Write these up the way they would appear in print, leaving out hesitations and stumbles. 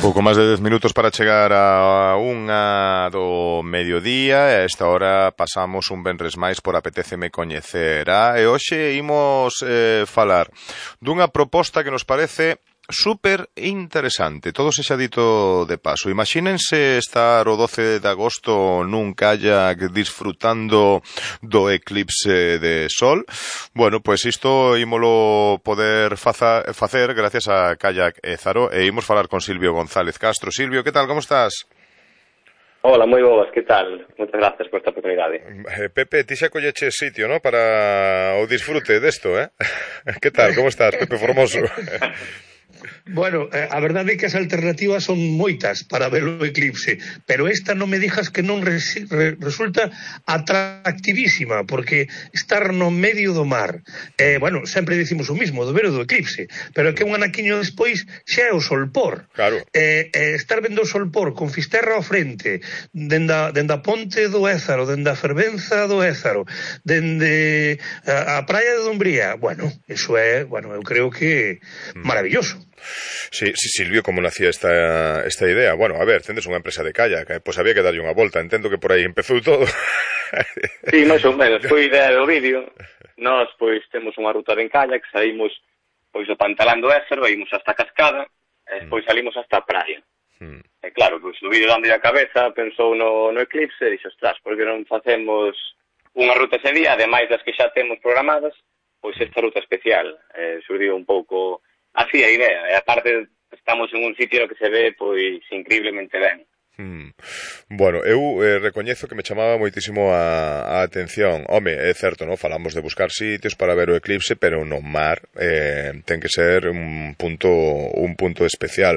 Pouco máis de 10 minutos para chegar a unha do mediodía e a esta hora pasamos un venres máis por Apetéceme Coñecer. E hoxe imos falar dunha proposta que nos parece super interesante, todo se xa dito de paso. Imagínense estar o 12 de agosto nun kayak disfrutando do eclipse de sol. Bueno, pois isto ímolo poder facer gracias a Kayak Ézaro e imos falar con Silvio González Castro. Silvio, que tal, como estás? Hola, moi boas, que tal? Moitas gracias por esta oportunidade. Pepe, ti xa colleches sitio, ¿no? Para o disfrute desto, eh? Que tal, como estás, Pepe Formoso? Bueno, a verdade é que as alternativas son moitas para ver o eclipse, pero esta non me dixas que non resulta atractivísima, porque estar no medio do mar, bueno, sempre dicimos o mismo, do ver o do eclipse, pero que un anaquiño despois xa é o solpor. Claro. Estar vendo o solpor con Fisterra ao frente, dende a ponte do Ézaro, dende a fervenza do Ézaro, dende a praia de Dumbría, bueno, eso é, bueno, eu creo que maravilloso. Sí, Silvio, como nacía esta idea? Bueno, a ver, tendes unha empresa de kayak, pois había que darlle unha volta, entendo que por aí empezou todo. Sí, máis ou menos, foi idea do vídeo. Nós, pois, temos unha ruta de kayak, saímos, pois, do Pantalán do Ézaro, ímos hasta a Cascada, e despois salimos hasta a praia. E claro, pois, o vídeo dando a cabeza, pensou no eclipse, e dixo, ostras, porque non facemos unha ruta ese día, ademais das que xa temos programadas, pois esta ruta especial. Surdiu un pouco así a idea, e aparte estamos en un sitio que se ve pois increíblemente ben. Bueno, eu recoñezo que me chamaba moitísimo a atención. Home, é certo, non? Falamos de buscar sitios para ver o eclipse, pero no mar ten que ser un punto especial.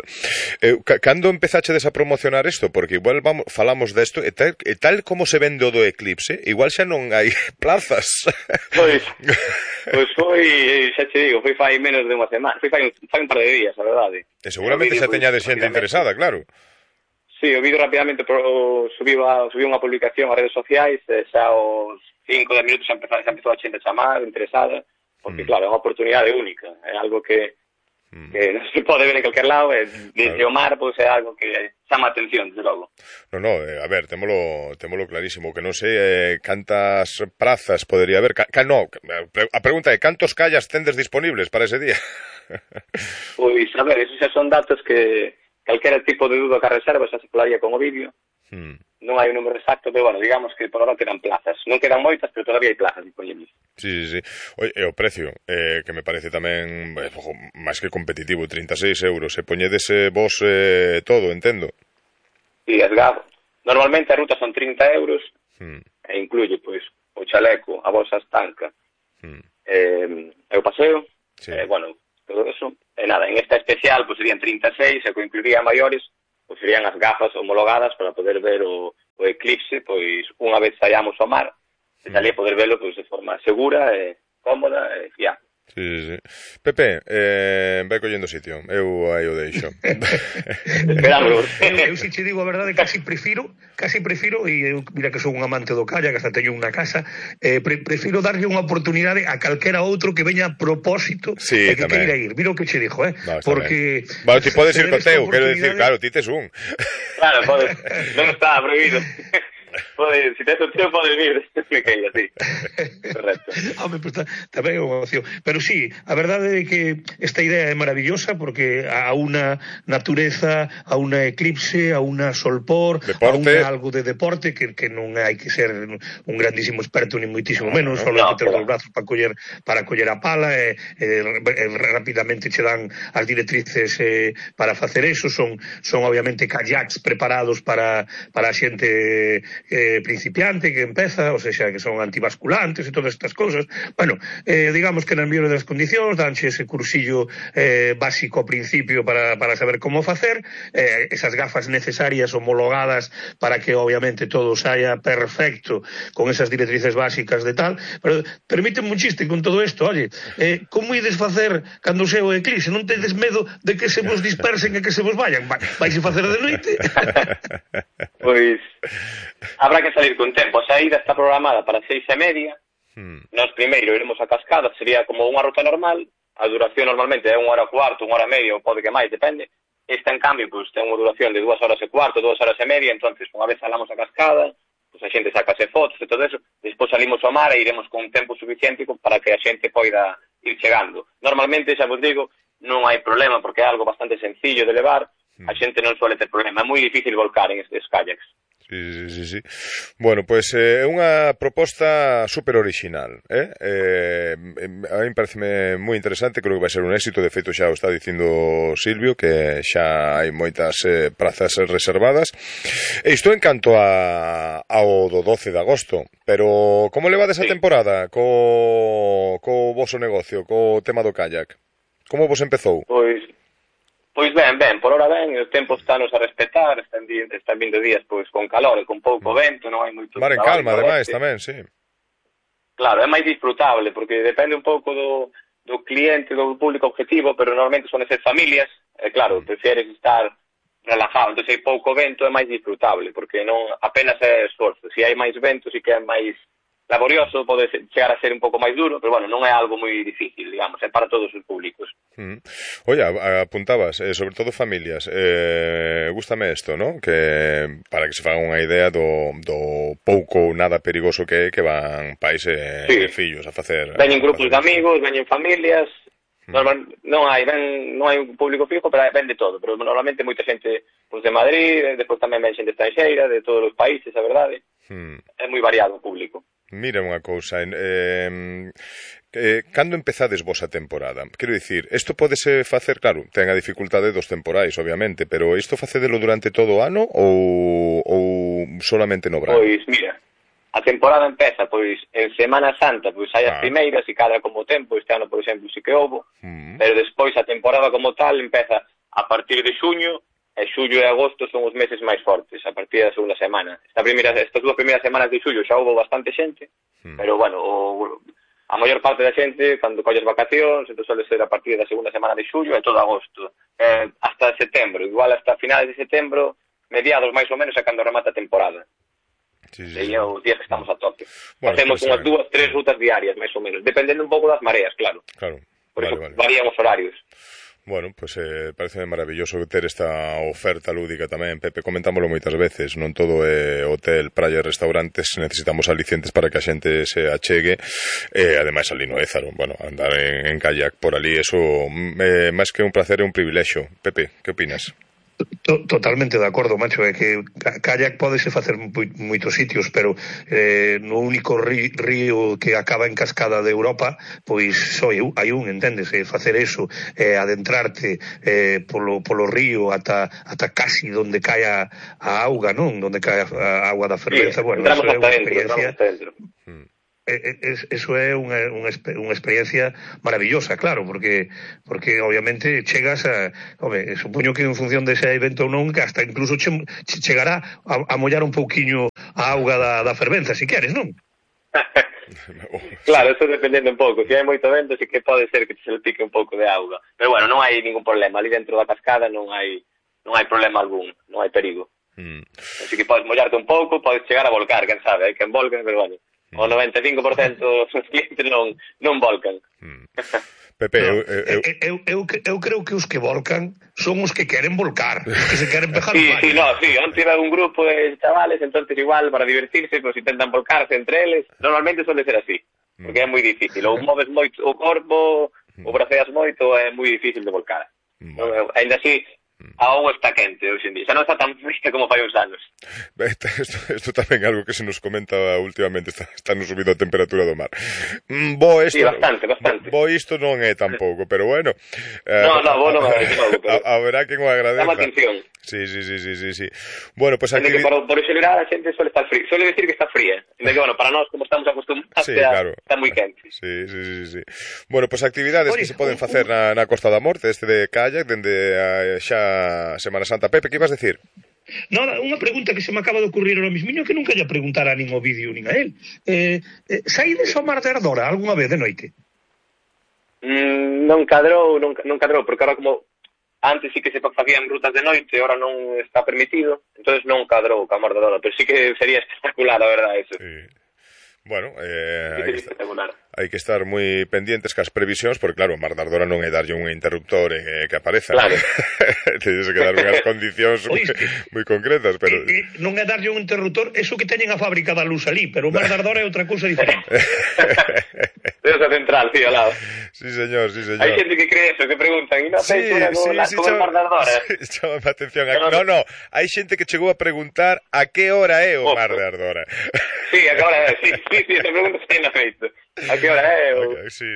Cando empezachedes a promocionar isto? Porque igual falamos desto e tal como se vende o do eclipse, igual xa non hai plazas. Pois foi, xa te digo, foi fai menos de unha semana, foi fai un par de días, a verdade. E seguramente xa teñades xente interesada, claro. Sí, o vídeo rapidamente subiu unha publicación ás redes sociais, xa aos 5 minutos xa empezou a xente a chamar, interesada, porque claro, é unha oportunidade única, é algo que non se pode ver en calquer lado, e desde o mar, pois é algo que chama a atención, desde logo. No, a ver, témolo clarísimo, que non sei cantas prazas podería haber, a pregunta é, cantos callas tendes disponibles para ese día? Pois, a ver, esos xa son datos que calquera tipo de duda que a reserva xa se falaría con o vídeo. Non hai un número exacto, pero, bueno, digamos que por ahora quedan plazas. Non quedan moitas, pero todavía hai plazas disponibles. Sí. Oye, e o precio, que me parece tamén máis que competitivo, 36 euros. E poñedes vos todo, entendo? Sí, normalmente a ruta son 30 euros, e incluye, pois, o chaleco, a bolsa estanca, e o paseo, bueno, todo eso. E nada, en esta especial pues serían 36, e que incluiría maiores, pues serían as gafas homologadas para poder ver o eclipse, pois unha vez saíamos ao mar, e salir a poder verlo pues de forma segura, cómoda e fiable. Sí. Pepe, vai collendo sitio, eu aí o deixo. eu si che digo a verdade, casi prefiro, e eu, mira que sou un amante do kayak, hasta teño unha casa, prefiro darlle unha oportunidade a calquera outro que veña a propósito, e que queira ir. Mira o que che dixo, porque... Bueno, ti podes ir co teu, quero dicir, claro, ti tes un. Claro, podes, non está prohibido. Si tens opción, podes vir, que é así. Correcto. Home, pues tamén é unha opción. Pero sí, a verdade é que esta idea é maravillosa, porque a unha natureza, a unha eclipse, a unha solpor, a unha algo de deporte, que non hai que ser un grandísimo experto, ni moitísimo menos, só hai que ter os brazos para coller a pala, e rapidamente che dan as directrices para facer eso. Son obviamente kayaks preparados para a xente principiante que empeza, ou seja, que son antibasculantes e todas estas cousas. Bueno, digamos que na mellor das condicións danche ese cursillo básico ao principio para saber como facer, esas gafas necesarias homologadas para que obviamente todo saia perfecto con esas directrices básicas de tal. Pero permíteme un chiste con todo isto, oye, como ides facer cando se o eclipse? Non tedes medo de que se vos dispersen e que se vos vayan? Vais a facer de noite? Pois habrá que salir con tempo. A saída está programada para 6:30. Nós primeiro iremos a Cascada, sería como unha ruta normal. A duración normalmente é 1 hora e cuarto, 1 hora e media, ou pode que máis, depende. Esta, en cambio, pues ten unha duración de 2 horas e cuarto, 2 horas e media, entonces unha vez salamos a cascada, pues a xente sacase fotos e todo eso, despois salimos ao mar e iremos con tempo suficiente para que a xente poida ir chegando. Normalmente, xa vos digo, non hai problema, porque é algo bastante sencillo de levar, a xente non suele ter problema, é moi difícil volcar en estes kayaks. Sí. Bueno, pois é unha proposta super original, a mí pareceme moi interesante, creo que vai ser un éxito, de feito xa o está dicindo Silvio, que xa hai moitas prazas reservadas. E isto en canto ao do 12 de agosto, pero como levades a temporada co voso negocio, co tema do kayak? Como vos empezou? Pois ben, por hora ben, o tempo estános a respetar, están vindo días pois con calor e con pouco vento, non hai moito mar en calma, ademais, tamén, sí. Claro, é máis disfrutable, porque depende un pouco do cliente, do público objetivo, pero normalmente son ser familias, e claro, prefieres estar relajado, entón se hai pouco vento é máis disfrutable, porque non apenas é esforzo, se hai máis vento, si que é máis laborioso, pode chegar a ser un pouco máis duro, pero bueno, non é algo moi difícil, digamos, é para todos os públicos. Oye, apuntabas, sobre todo familias, gústame isto, ¿no? Que para que se fagan unha idea do pouco ou nada perigoso que é que van pais e fillos a facer. Veñen grupos de amigos, veñen familias, non hai un público fijo, pero ven de todo, pero normalmente moita xente pues, de Madrid, despois tamén ven xente estranxeira, de todos os países, a verdade, é moi variado o público. Mira unha cousa, cando empezades vos a temporada? Quero dicir, isto podese facer, claro, ten a dificultade dos temporais, obviamente, pero isto facedelo durante todo o ano ou solamente no verano? Pois, mira, a temporada empeza, pois, en Semana Santa, pois hai as primeiras e cada como tempo, este ano, por exemplo, si que houbo, pero despois a temporada como tal empeza a partir de xuño, e xullo e agosto son os meses máis fortes, a partir da segunda semana. Estas 2 primeiras semanas de xullo xa houve bastante xente, pero, bueno, a maior parte da xente, cando colles vacacións, entón suele ser a partir da segunda semana de xullo e todo agosto, hasta setembro, igual hasta finales de setembro, mediados máis ou menos, é cando remata a temporada. E é os días que estamos a tope. Facemos unhas 2-3 rutas diarias, máis ou menos, dependendo un pouco das mareas, claro. Por eso varían os horarios. Bueno, pues parece maravilloso ter esta oferta lúdica tamén, Pepe, comentámoslo moitas veces, non todo é hotel, praia e restaurantes, necesitamos alicientes para que a xente se achegue, ademais ali no Ézaro, bueno, andar en kayak por ali, eso máis que un placer é un privilexio. Pepe, que opinas? Totalmente de acordo, macho, é que kayak podese facer moitos sitios, pero no único río que acaba en cascada de Europa, pois só hai un, entendes, facer eso, adentrarte polo río ata casi donde cae a auga, non? Donde cae a agua da fervenza, bueno, eso é unha experiencia. Eso é unha experiencia maravillosa, claro, porque obviamente chegas supoño que en función de se hai vento ou non, que hasta incluso chegará a mollar un pouquiño a auga da fervenza, si queres, non? Claro, eso dependendo un pouco, se hai moito vento, si que pode ser que se le pique un pouco de auga, pero bueno, non hai ningún problema, ali dentro da cascada non hai problema algún, non hai perigo. Así que podes mollarte un pouco, podes chegar a volcar, quen sabe, hai quen volca, pero bueno, o 95% dos clientes non volcan. Pepe, eu creo que os que volcan son os que queren volcar, os que se queren pejar sí, onte iba un grupo de chavales, entonces igual para divertirse, pues intentan volcarse entre eles, normalmente suele ser así, porque é moi difícil, ou moves moito o corpo, ou braceas moito, é moi difícil de volcar. Ainda así, a auga está quente hoxe en día, xa non está tan fría como fai uns anos. Isto tamén é algo que se nos comenta últimamente, está no subido a temperatura do mar. Sí, bastante. Isto non é tampouco, pero bueno. Vos non é tampouco. Haberá quen o agradeza. Dame atención. Sí. Bueno, pues aquí... Por xeral a xente suele estar fría, suele decir que está fría, que bueno, para nós como estamos acostumbrados está moi quente. Sí. Bueno, pues actividades que se poden facer na Costa da Morte, de kayak, dende xa Semana Santa. Pepe, que ibas decir? Nada, unha pregunta que se me acaba de ocurrir ahora mismo, que nunca lle preguntara nin o vídeo nin a él. Saídes ao mar de Ardora algunha vez de noite? Non cadrou, porque ahora como antes sí que se facían rutas de noite, ahora non está permitido, entonces non cadrou ca mar de Ardora, pero sí que sería espectacular, a verdade, eso. Sí. Bueno, hai que estar moi pendientes cas previsións, porque claro, o Mar da Ardora non é darlle un interruptor que apareza. Claro. Tens que dar unhas condicións moi concretas, pero... Non é darlle un interruptor, eso que teñen a fábrica da luz ali, pero o Mar da Ardora é outra cousa diferente. Esa central, sí, ao lado. Sí, señor, sí, señor. Hai xente que cree eso, que preguntan, e non sei como o Mar da Ardora? Chama a atención. No, hai xente que chegou a preguntar a que hora é o Mar da Ardora. Sí, a que hora é, sí, esa pregunta está na feito. A que hora é, sí,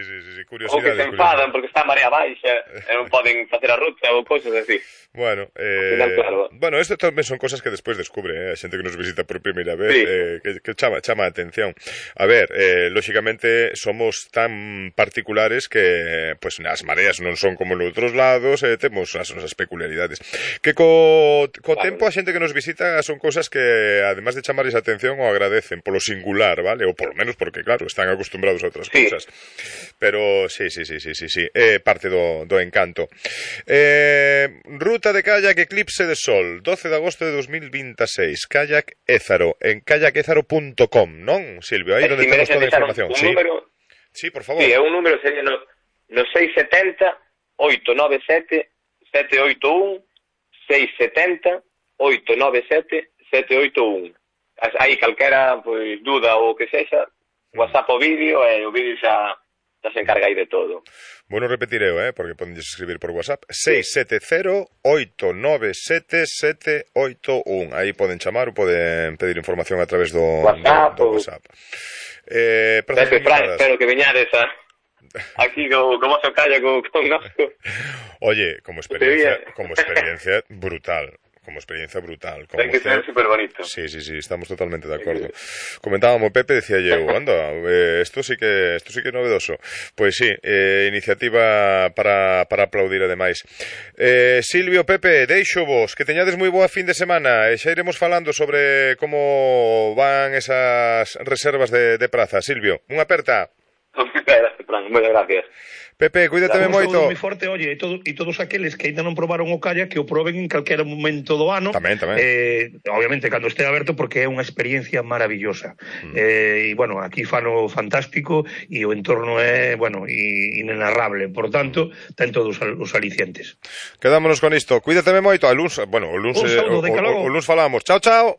curiosidade. Ou que se enfadan porque está a marea baixa e non poden facer a ruta ou cousas así. Bueno, final, claro. Bueno, isto tamén son cosas que despois descubre, a xente que nos visita por primeira vez, sí. Que chama a atención. A ver, lóxicamente somos tan particulares que pues as mareas non son como en outros lados, temos as nosas peculiaridades. Que co tempo a xente que nos visita son cosas que, además de chamarles a atención, o agradecen polo singular, vale? Ou polo menos porque, claro, están acostumbrados a outras cousas. Pero sí, é parte do encanto. Ruta de kayak Eclipse de Sol, 12 de agosto de 2026, kayak Ézaro, en kayakézaro.com, non, Silvio? Aí onde temos toda a información. Sí, por favor. Sí, é un número, sería no 670-897-781, 670-897-781. Aí calquera pues, duda ou que sexa, WhatsApp o vídeo, e o vídeo xa se encarga aí de todo. Bueno, repetireo, porque poden escribir por WhatsApp. 670-897-781. Aí poden chamar ou poden pedir información a través do WhatsApp. Espero que veñades aquí co vosso calla con nosco. Oye, como experiencia brutal. Como experiencia brutal. Ten que ser super bonito. Sí, estamos totalmente de acordo. Comentábamos, Pepe, decía yo, anda, esto sí que é novedoso. Pois sí, iniciativa para aplaudir ademais. Silvio, Pepe, deixo vos, que teñades moi boa fin de semana, e xa iremos falando sobre como van esas reservas de praza. Silvio, unha aperta. Moitas gracias. Pepe, cuídateme moito. Moi forte, oye, e todos aqueles que ainda non probaron o kayak, que o proben en calquera momento do ano. Tamén. Obviamente, cando este aberto, porque é unha experiencia maravillosa. E, bueno, aquí fano fantástico, e o entorno é, bueno, inenarrable. Por tanto, ten todos os alicientes. Quedámonos con isto. Cuídateme moito. O luns falamos. Chao. Chao.